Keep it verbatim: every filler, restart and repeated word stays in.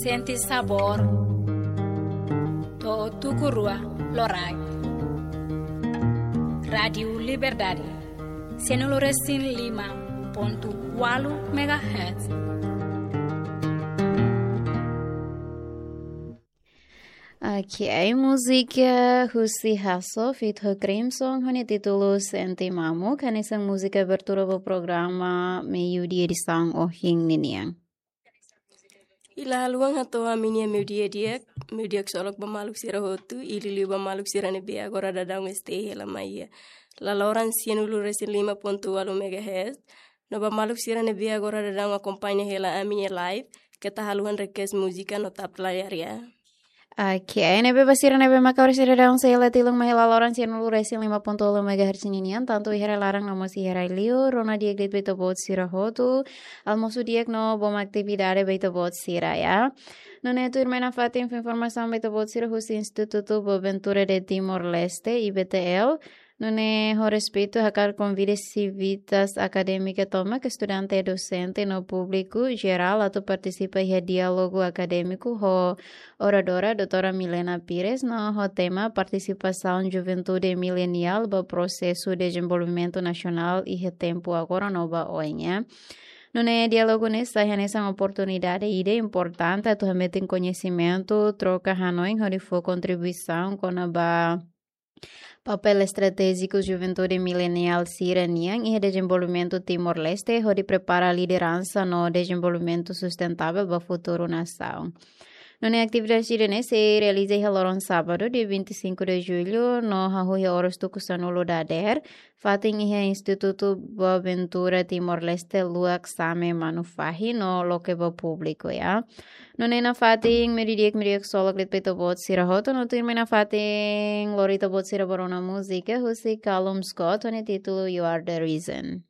Sente sabór. To'o tuku rua loraik. Rádiu Liberdade, sianulu resin lima pontu ualu megahertz. Ok, múzika husi Hasso feat ho Crimson, ho nia títulu Sente Mamuk, hanesan múzika abertura ba programa Meiudia edisaun ohin ninian. I la haluha hato'o ami-nia meiudia di'ak, meiudia ksolok ba maluk sira hotu, i liuliu ba maluk sira ne'ebé agora daudaun stay hela mai iha laloran sianulu resin lima pontu ualu megahertz, no ba maluk sira ne'ebé agora daudaun akompaña hela ami-nia live, keta haluha request múzika no tap layar ya. Ok, ne'ebé ba sira ne'ebé maka oras sira daudaun sei hela tilun mai iha laloran sianulu resin lima pontu ualu megahertz ninian, tantu iha rai laran no mós iha rai liur, rona di'ak de'it ba ita-boot sira hotu, almosu di'ak no bom atividade ba ita-boot sira ya. Nune'e tuirmai nafatin fó informasaun ba ita-boot sira husi Instituto Boaventura de Timor-Leste, I B T L, nune'e ho respeitu hakarak konvida sivitas akadémika tomak, estudante, dosente no públiku jerál atu partisipa iha diálogu akadémiku ho oradora doutora Milena Pires no ho tema partisipasaun juventude mileniál ba prosesu dezenvolvimentu nasionál iha tempu agora no ba oin. Nune'e diálogu ne'e sai hanesan oportunidade ida importante atu hametin koñesimentu, troka hanoin hodi fó kontribuisaun kona-ba papél estratéjiku juventude mileniál sira-nian iha dezenvolvimentu Timor-Leste, hodi prepara lideransa no dezenvolvimentu sustentável ba futuru nasaun. Nune'e atividade sira-ne'e sei realiza iha loron sábadu, dia vinte e cinco de julho, no hahú iha oras tuku sanulu dadeer, fatin iha Instituto Boaventura Timor-Leste, luak Same Manufahi, no loke ba públiku ya. Nune'e nafatin meiudia di'ak, meiudia ksolok de'it ba ita-boot sira hotu, no tuirmai nafatin lori ita-boot sira ba rona múzika husi Callum Scott, ho nia títulu You Are the Reason.